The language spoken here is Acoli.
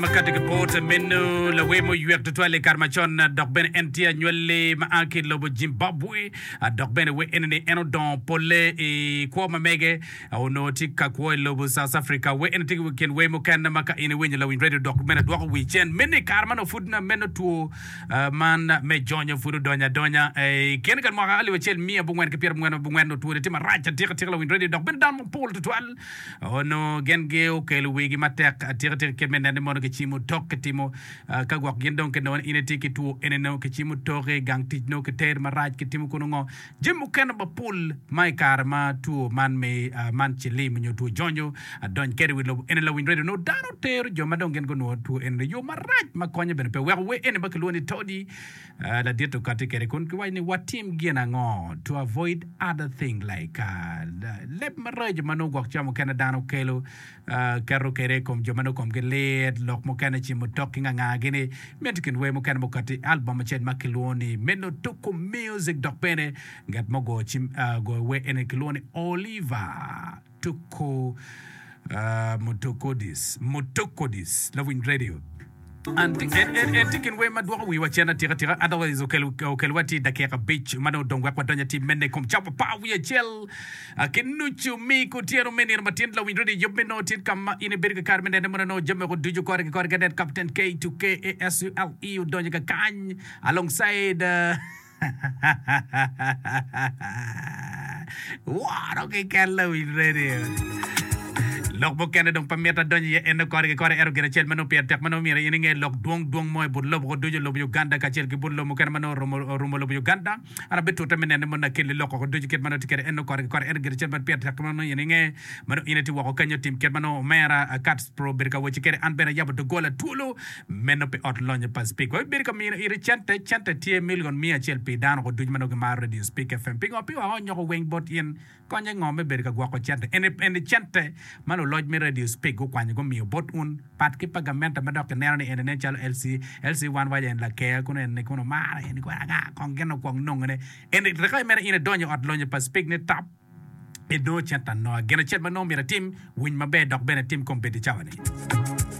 Ma kati ki bot meno lawer muywek tutwal i kare macon dok bene en tye anywalli ma a ki i lobo Zimbabwe dok bene wer eni ni en odongo polle i kwo ma mege onongo tye ka kwo i lobo South Africa. Wer eni tye i kin wer mukene ma ka in iwinyo lawiny radio dok bene dwoko wi cen meno i kare ma nongo pud meno two man me jonyo pud odonyo adonya i kine ka mwaka 1944 onongo twoni tye marac atika atika lawiny radio dok bene dano mapol tutwal Onongo gin giokelo wigi matek atika tika kit me neno ni mono kicimo tok kitimo ka gwok gin dong kinongo ni in itye ki two eni nongo kicimo toki i gang tic nongo kiteri marac kitimo kunu ngo jami mukene mapol ma i kare ma two man me man cilim nyo two jonyo adony kede i wi lobo eni lawiny radio nongo dano tero jo ma dong gin gunongo two eni i yo marac ma konye bene pe weko wer eni ma kilwongo ni todi Ladit okati kwede kun giwaco ni watim gin ango to avoid other thing like leb maraco ma nongo gwok ca mukene dano kelo keto kwede i kom jo ma nongo komgi lit lok mukene cimo tok ki nganga gini mito kin wer mukene mukati i album acel ma kilwongo ni meno tuku music dok bene ngat ma ogoyo cim ogoyo wer eni kilwongo ni Oliver Tuko Mutokodis, Mutokodis, lawiny radio. En tye kin wer ma dwoko wiwa cen atika tika, otherwise okelwa tye i dakika abic ma dong odong wek wadony atir mene i kom cawa apar wiye acel ki nucu mi kutyeno me nino matin. Lawiny radio yub me nongo tye ka ma in ibedo ki kare me nene mono nongo jami woko ducu kore ki kore ka nen Captain K2 KASULE odonyo kakany alongside Woro keken lawiny radio. Lok mukene dong pe mito adonyo iye ento kore ki kore ento gin acel ma nongo pire tek ma nongo myero in inge lok dwong dwong mo i but lobo ko ducu lobo Uganda kacel ki but lobo mukene ma nongo oromo orumo lobo Uganda. An abitute me nene mono akelli lok oko ducu kit ma nongo tye kwede ento kore ki kore ento gin acel ma pire tek ma nongo in inge ma nongo in itye woko kenyo tim kit ma nongo omera Katz Pro obedo ka wacci kwede an bene ayabo doggola twolo Meno pi ot lonyo pa Spik. Wabibedo ka mino iti cente. Cente tye milion miya acel pi dano ko ducu ma nongo gimaro Radio Spik FM. Pingo? Pi wang onyoko weng bot in. Konye ngo me bedo ka gwoko cente? Eni, eni cente ma luloc me Radio Spik gukwanyo gumiyo bot un, pat ki pa gamente ma dok kineno ni eni nen calo LC, LC wan waco en laker kunu eni kunu omaro eni kunu anga kong gin okwong nongone. Eni reka mere in idonyo i ot lonyo pa Spik ni tap. Inongo cente anonga. Gin acel ma nongo myero itim, winy maber dok bene itim kombeddi cawa-ni.